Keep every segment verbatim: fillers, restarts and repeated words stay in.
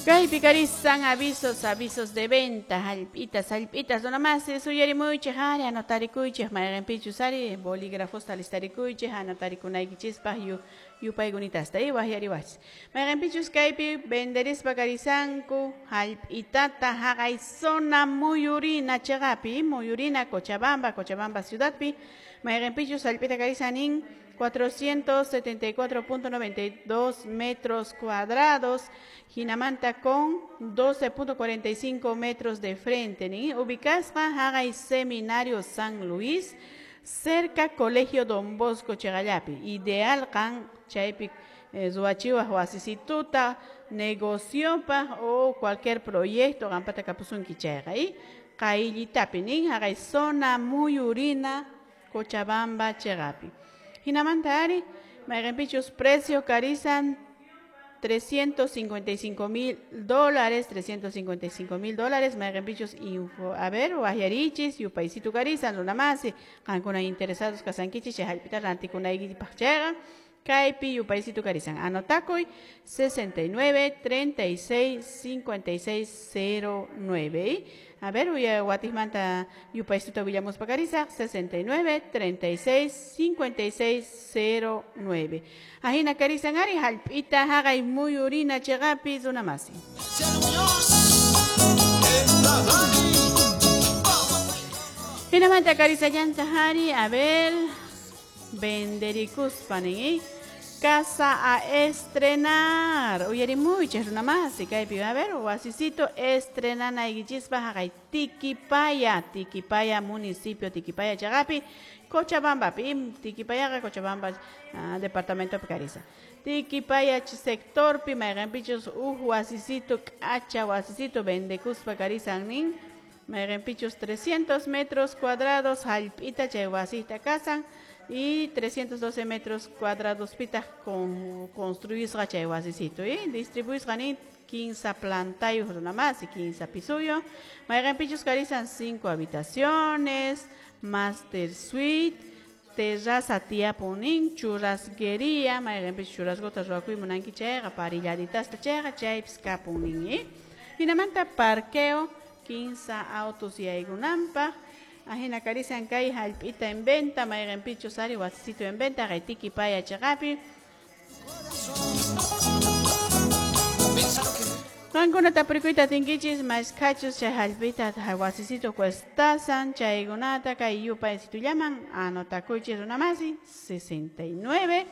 Kaypi karisan avisos, avisos de venta, hallp'itas, hallp'itas, runamasi suyarimuychik ari anotarikuychik mayqinpichus ari bolígrafosta listarikuychik anotarikunaykichispa yu yupaykunitasta y waqyariwachis mayqinpichus kaypi venderispa karisanku hallp'itata haqay zona Muyurina chiqapi Muyurina Cochabamba, Cochabamba ciudadpi mayqinpichus hallp'ita karisan nin cuatrocientos setenta y cuatro punto noventa y dos metros cuadrados, hinamanta con doce punto cuarenta y cinco metros de frente, ni ubicasqa haqay Seminario San Luis, cerca Colegio Don Bosco chiqallapi, ideal qan chaypi eh, ruwachiwaq wasisituta, negociopaq o cualquier proyecto qampata kapusunki chayqa, y qayllitapi nin haqay zona Muyurina Cochabamba chiqapi. Hinamanta ari, mayqinpichus precio karisan trescientos cincuenta y cinco mil dólares, trescientos cincuenta y cinco mil dólares, mayqinpichus info, a ver, waqyarichis, yupaysitu karisan, runamasi, qankuna interesados kasankichis, chay hallp'ita rantikunaykipaq chayqa, kaypi yupaysitu karisan. Anotakuy sesenta y nueve, treinta y seis, cincuenta y seis, cero nueve. A ver, watismanta yupaysituta willamuspa karisaq, sesenta y nueve, treinta y seis, cincuenta y seis, cero nueve. Ajina karisan ari hallp'ita haqay Muyurina chiqapi runamasi. Hinamanta karisallanta hari, a ver, venderikuspa nin, casa a estrenar. Uyarimuychis runamasi kaypi, a ver, wasisito estrenanaykichispa haqay Tiquipaya, Tiquipaya municipio, Tiquipaya chiqapi, Cochabambapi, Tiquipayaqa Cochabamba ah, departamento karisa. Tiquipaya sectorpi mayqinpichus uj wasisito k'acha wasisito vendekuspa karisan nin, mayqinpichus trescientos metros cuadrados hallp'ita chay wasita kasan y trescientos doce metros cuadrados pitaq con construisqa chay wasisito y distribuisqa nin quince plantayuq runamasi, quince pisuyo, mayqinpichus karisan cinco habitaciones, master suite, terraza tiyapunin, churrasquería, mayqinpichus churrasquta ruwakuy munanki chayqa parrilladitasta chayqa chaypis kapunin, ¿eh? Hinamanta parqueo, quince autos yaykunanpaq. Ajina karisan kay hallp'ita en venta, mayqinpichus ari wasisito en venta, kay Tiquipaya chiqapi. Qankuna tapurikuyta atinkichis, mashkhachus chay hallp'ita wasisito cuestasan, chaykunata kay yupaysitullaman anotakuychis runamasi, sesenta y nueve,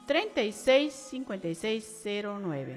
treinta y seis, cincuenta y seis, cero nueve.